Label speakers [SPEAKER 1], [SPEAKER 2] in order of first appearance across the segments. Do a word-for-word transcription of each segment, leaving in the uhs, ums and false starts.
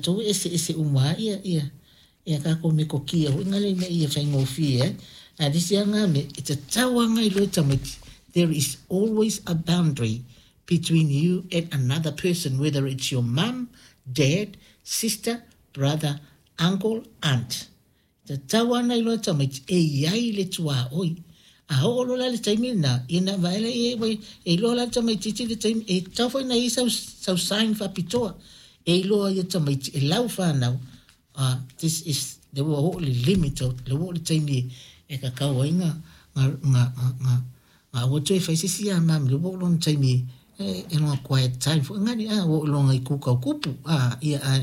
[SPEAKER 1] Tatou e eseese uma lava ia ia ia tatou metotia foi na ina ia faigofie ai. Ae o le isi lava na mea, e tatau lava ona iloa e tamaiti, there is always a boundary between you and another person, whether it's your mum, dad, sister, brother, uncle, aunt. E tatau lava ona iloa e tamaiti e i ai le tuaoi. A oo loa la i le taimi lena, ia ona vaai lea e iloa la le tamaitiiti le taimi, e tatau foi ona i ai sau, sau sign faapitoa e iloa ai e tamaiti e lau fanau, uh, this is le ua oo le limit o le ua oo le taimi e tatau ai na na na na na aua toe fai se isi mami le ua oo lona taimi e e lona quiet time foi ngani a ua oo lona i kuka o kupu a ia a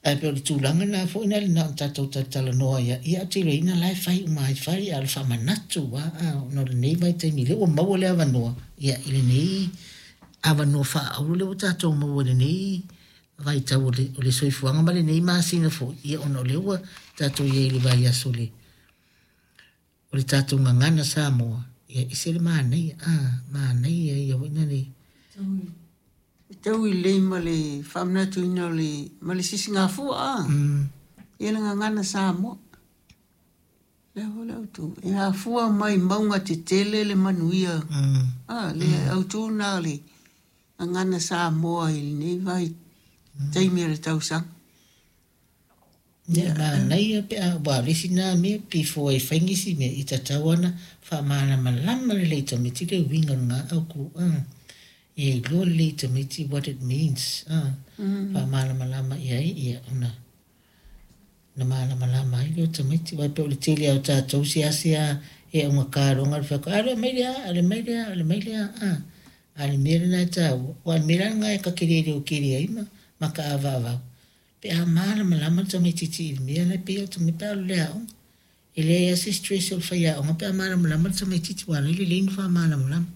[SPEAKER 1] ae pei o le tulaga lena foi na na ona tatou talatalanoa ia ia te iloaina la e fai uma ai fai a o le faamanatu a a ona o lenei vaitaimi lea ua maua le avanoa ia i lenei avanoa faaauro lea ua tatou maua i lenei vaitau o le, o le soifuaga ma lenei masina foi ia ona o lea ua tatou i ai i le vaiaso o le o le tatou gagana Samoa ia ese le manaia a manaia ia foi na le
[SPEAKER 2] E tau i lei ma le faamanatuina o le ma le sisigafua a.
[SPEAKER 1] mm,
[SPEAKER 2] Ia le gagana Samoa. Lea foi le autu. E afua mai mauga tetele le manuia.
[SPEAKER 1] mm,
[SPEAKER 2] A, le autu na le gagana Samoa i lenei vai taimi o le tausaga.
[SPEAKER 1] Ia manaia pe a ua o le isi na mea before e fai nisi mea i tatau ona faamalamalama lelei i tamaiti le uiga o lena autu a ia iloa lelei i tamaiti what it means a faamalamalama i ai ia ona na malamalama ai lea o tamaiti aua pei o le tele lava o tatou seasea e augata loa ona fai atu a le mai lea a le mai lea a le mai lea a a le mea lena e taua aua o le mea la lena e ta te le leotele ai ma ma taavaavau pe a malamalama le tamaitiiti i le mea la e pei o tamaiti pe a alu i le aoga e leai lava se stress o le faiaoga pe a malamalama le tamaitiiti aua o la e lelei ona faamalamalama.